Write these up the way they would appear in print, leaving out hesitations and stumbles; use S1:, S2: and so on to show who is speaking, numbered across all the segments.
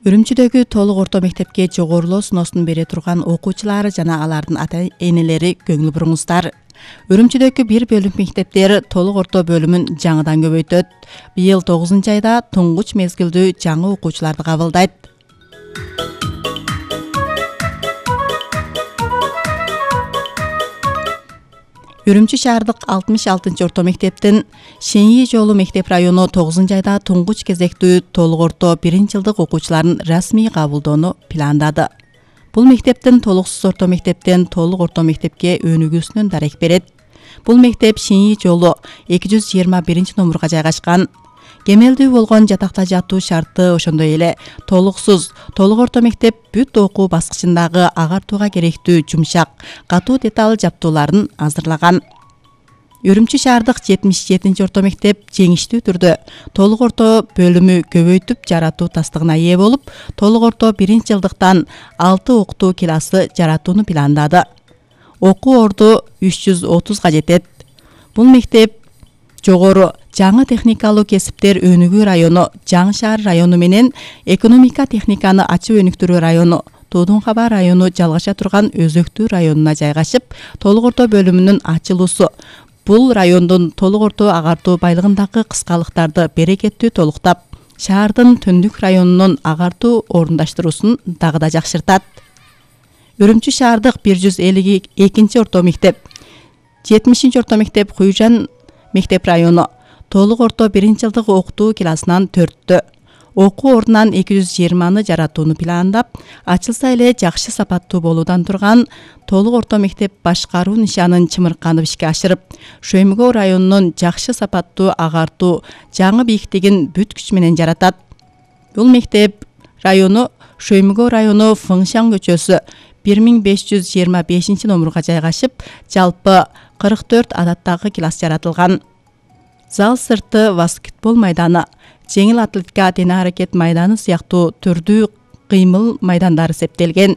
S1: Үрүмчүдөгү толук орто мектепке жогорулоо сыноосун бере турган окуучулар жана алардын ата-энелери көңүл буруңуздар. Үрүмчүдөгү бир бөлүм мектептер толук орто бөлүмүн жаңыдан көбөйтөт. Быйыл 9-айда туңгуч мезгилдүү жаңы окуучуларды кабылдайт. Үрүмчү шаардык 66-орто мектептин Шеньи жолу мектеп району 9-айда туңгуч кезектүү толук орто 1-жылдык окуучуларын расмий кабылдоону пландады. Бул мектептин толуксуз орто мектептен толук орто мектепке өнүгүүсүнөн дарек берет. Бул мектеп Шеньи жолу 221-номурга жайгашкан. Кемелдүү болгон жатакта жатуу шарты, ошондой эле толуксуз толук орто мектеп бүт окуу баскычындагы агартууга керектүү жумшак, катуу деталь жаптууларын азырлаган. Үрүмчү шаардык 77-орто мектеп жеңиштүү түрдө толук орто бөлүмү көбөйтүп жаратуу тастыгына ээ болуп, толук орто 1-жылдыктан 6 окутуу классы жаратууну пландады. Окуу орду 330га жетет. Бул мектеп жогору жаңы техникалуу кесиптер өнүгүү району, Жаңы шаар району менен экономика техниканы ачып өнүктүрүү району, Тоодун Каба району жалгаша турган Өзөктүү районуна жайгашып, толук орто бөлүмүнүн ачылуусу бул райондун толук орто агартуу байлыгындагы кыскалыктарды берекеттүү толуктап, шаардын түндүк районунун агартуу орундаштыруусун дагы да жакшыртат. Үрүмчү шаардык 152-орто мектеп, 70-орто мектеп Куйжан мектеп району толук орто 1-жылдык окутуу классынан 4-тө. Окуу ордунан 220 жаратууну пландап, ачылса эле жакшы сапаттуу болуудан турган толук орто мектеп башкаруу нишанын чымырканып ишке ашырып, Шөймөгөө районунун жакшы сапаттуу агартуу жаңы бийиктигин бүт күч менен жаратат. Бул мектеп району Шөймөгөө району Фыңшан көчөсү 1525-номурга жайгашып, жалпы 44 адаттагы класс жаратылган. Зал сырты баскетбол майданы, жеңил атлетика тене аракет майданы сыяктуу түрдүү кыймыл майдандары септелген.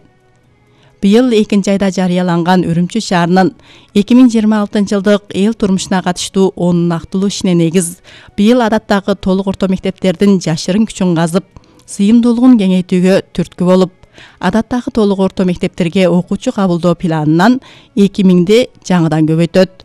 S1: Быйыл 2-айда жарыяланган Үрүмчү шаарынын 2026-жылдык эл турмушуна катыштуу 10 нактылуу ишине негиз, быйыл адаттагы толук орто мектептердин жашырын күчүн казып, сыйымдуулугун кеңейтүүгө түрткү болуп, адаттагы толук орто мектептерге окуучу кабылдоо планынан 2000 жаңыдан көбөйтөт.